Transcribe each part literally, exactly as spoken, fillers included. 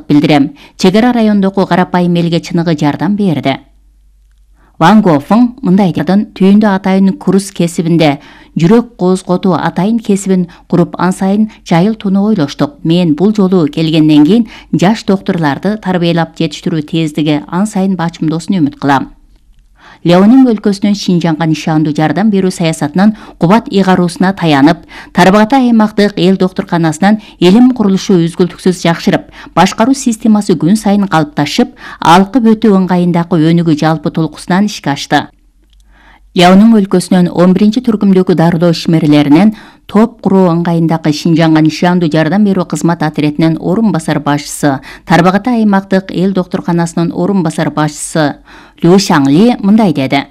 билдирем. Чек ара райондогу карапайым элге чыныгы жардам берди. Ван Гофың мындай дедин, түйүндө атайын курс кесибинде жүрөк козготуу атайын кесибин куруп ан сайын жайылтууну ойлоштук. Мен бул жолу келгенден кийин жаш доктурларды тарбиялап жетиштирүү тездиги ан сайын бачымдоосун үмүт кылам. Леонин өлкөсүнүн Шинжаңга нишандуу жардам берүү саясатынын кубат ыйгаруусуна таянып, Тарбагатай аймактык эл доктурканасынын илим курулушу үзгүлтүксүз жакшырып, башкаруу системасы күн сайын калыпташып, алкып өтүү ыңгайындагы өнүгүү жалпы толкусунан ишке ашты. Леонин өлкөсүнүн он биринчи түркүмдөгү дарылоо ишмерлеринен топ куруу ыңгайындагы Шинжаңга нишандуу жардам берүү кызмат отрядынын орун басар башчысы, Тарбагатай аймактык эл доктурканасынын орун басар башчысы Лю Шаңли мындай деди.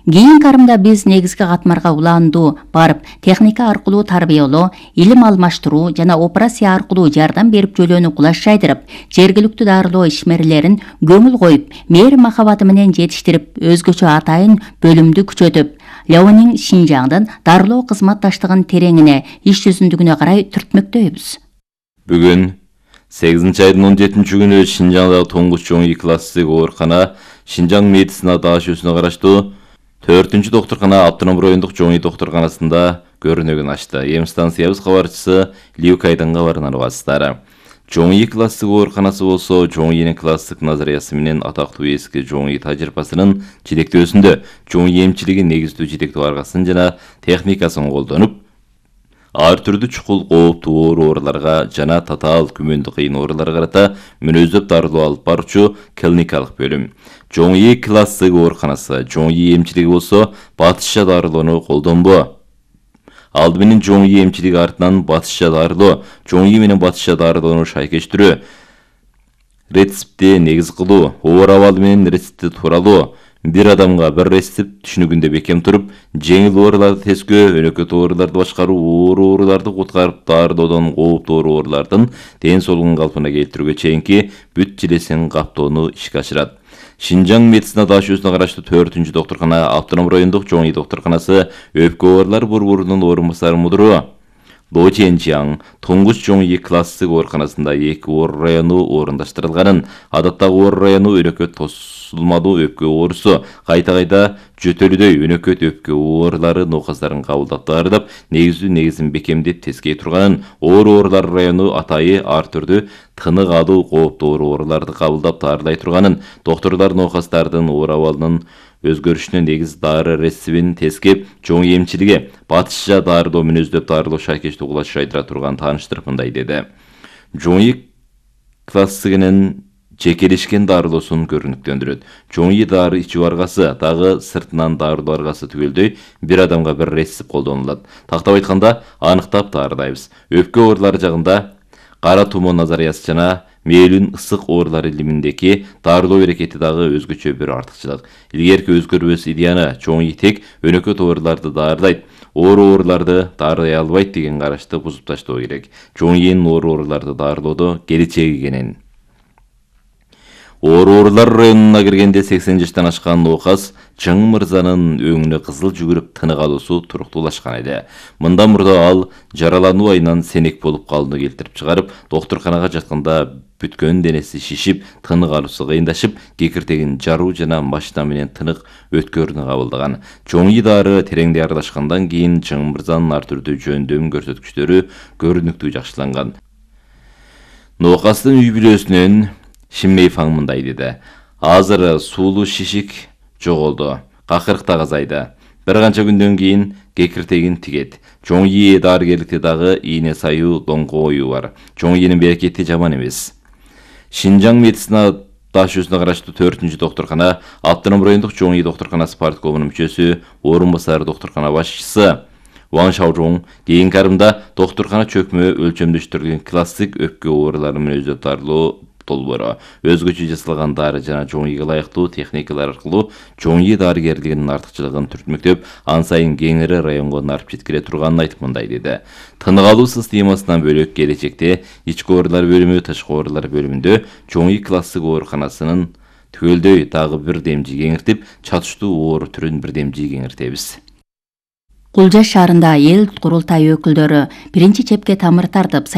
Кийинки арымда биз негизги катмарга улаандуу барып, техника аркылуу тарбиялоо, илим алмаштыруу жана операция аркылуу жардам берип жөлөөнү кулаш жайдырып, жергиликтүү дарылоо ишмерлерин көңүл коюп, мээри махабаты менен жетиштирип, өзгөчө атайын бөлүмдү күчөтүп, Леонин Шинжаңдын дарылоо кызматташтыгын тереңине, иш жүзүндүгүнө карай түртмөктөйбүз. Бүгүн сегизинчи айдын он жетинчи күнү Шинжаңдагы тоңгуч чоң класстык оорукана Шинжаң медицина даашүүсүнө караштуу төртүнчү доктуркана автоном райондук чоң доктурканасында көрүнөгүн ачты. Эм станциябыз кабарчысы Лиукайдын кабарынан угасыздар. Чоң класстык ооруканасы болсо чоң класстык назариясы менен атактуу эски чоң тажрыйбасынын жетектөөсүндө чоң эмчилиги негиздүү жетектөө аргасын жана техникасын колдонуп, ар түрдүү чукул кооптуу ооруларга жана татаал күмөндү кыйын ооруларга карата мүнөздөп дарылоо алып баруучу клиникалык бөлүм. Чоң класстык ооруканасы чоң эмчилиги болсо батышча дарылоону колдонбо. Алды менен чоң эмчилиги артынан батышча дарылоо, чоң менен батышча дарылоону шайкештирүү, рецептти негиз кылуу, оор абалы менен рецептти тууралоо, бир адамга бир рецепт түшүнүгүндө бекем туруп, жеңил ооруларды тескөө, өнөкөт ооруларды башкаруу, оор ооруларды куткарып дарылоодон кооптуу оорулардын ден соолугун калпына келтирүүгө чейинки бүт жилесин каптоону ишке ашырат. Шинжаң медицина даашүүсүнө караштуу төртүнчү доктуркана автоном райондук чоң доктурканасы өпкө оорулар борборунун орун басары мудуру Ло Ченчиаң тоңгуч чоң класстык ооруканасында эки оор району орундаштырылганын, адаттагы оор району өнөкөт тосулмалуу өпкө оорусу, кайта-кайта жөтөлүдөй өнөкөт өпкө оорулары науказдарын кабылдап дарылап, негиздүү негизин бекемдеп тескей турганын, оор оорулар району атайы ар түрдүү тынык алуу кооптуу ооруларды кабылдап дарылай турганын, доктурлар науказдардын оор абалынын өзгөрүшүнө негиз дары рецебин тескеп, чоң эмчилиги батышча дарылоо мүнөздөп дарылоо шайкештүү кулаш жайдыра турган тааныштырып мындай деди. Чоң классыгынын жекелешкен дарылоосун көрүнүктөндүрөт. Чоң дары ичүү аргасы дагы сыртынан дарылоо аргасы түгөлдөй бир адамга бир рецепт колдонулат. Тактап айтканда аныктап дарылайбыз. Өпкө оорулары жагында кара тумоо назариясы жана мээлүүн ысык оорулар илиминдеки дарылоо берекети дагы өзгөчө бир артыкчылык. Илгерки өзгөрбөс идеяны чоң тек өнөкөт ооруларды дарылайт, оор ооруларды дарылай албайт деген карашты бузуп таштоо керек. Чоң оор ооруларды дарылоодо келечеги кенен. Оор оорулар районуна киргенде сексен жаштан ашкан ооказ Чың мырзанын өңүнө кызыл жүгүрүп тынык алуусу туруктуулашкан эди. Мындан мурда ал жаралануу айынан сенек болуп калууну келтирип чыгарып, доктурканага жатканда бүткөн денеси шишип, тынык алуусу кыйындашып, кекиртегин жаруу жана машина менен тынык өткөрүүнү кабылдаган. Чоң дары тереңдей аралашкандан кийин Чың мырзанын ар түрдүү жөндөм көрсөткүчтөрү көрүнүктүү жакшыланган. Нооказдын үй бүлөсүнөн Шиммей Фаң мындай деди. Азыр суулуу шишик жоголду, какырык да азайды. Бир канча күндөн кийин кекиртегин тигет. Чоң дарыгерликте дагы ийне саюу, доңго ою бар. Чоң берекети жаман эмес. Шинжаң медицина даашүүсүнө караштуу төртүнчү доктуркана автоном райондук чоң доктурканасы парткомунун мүчөсү, орун басары доктуркана башчысы Ван Шаожоң кийинки арымда доктуркана чөкмө өлчөмдөштүрүлгөн классик өпкө оорулары мүнөздөп дарылоо долбоору, өзгөчө жасалган дары жана чоңийге ылайыктуу техникалар аркылуу чоңий дарыгерлигинин артыкчылыгын түртмөктөп, ан сайын кеңири районго нарып жеткире турганын айтып мындай деди. Тынык алуу системасынан бөлөк келечекте ички оорулар бөлүмү, тышкы оорулар бөлүмүндө чоңий классык ооруканасынын түгөлдөй дагы бир демжи кеңиртип, чатыштуу оор түрүн бир демжи кеңиртебиз. Кулжа шаарында эл курултайы өкүлдөрү биринчи чепке тамыр тартып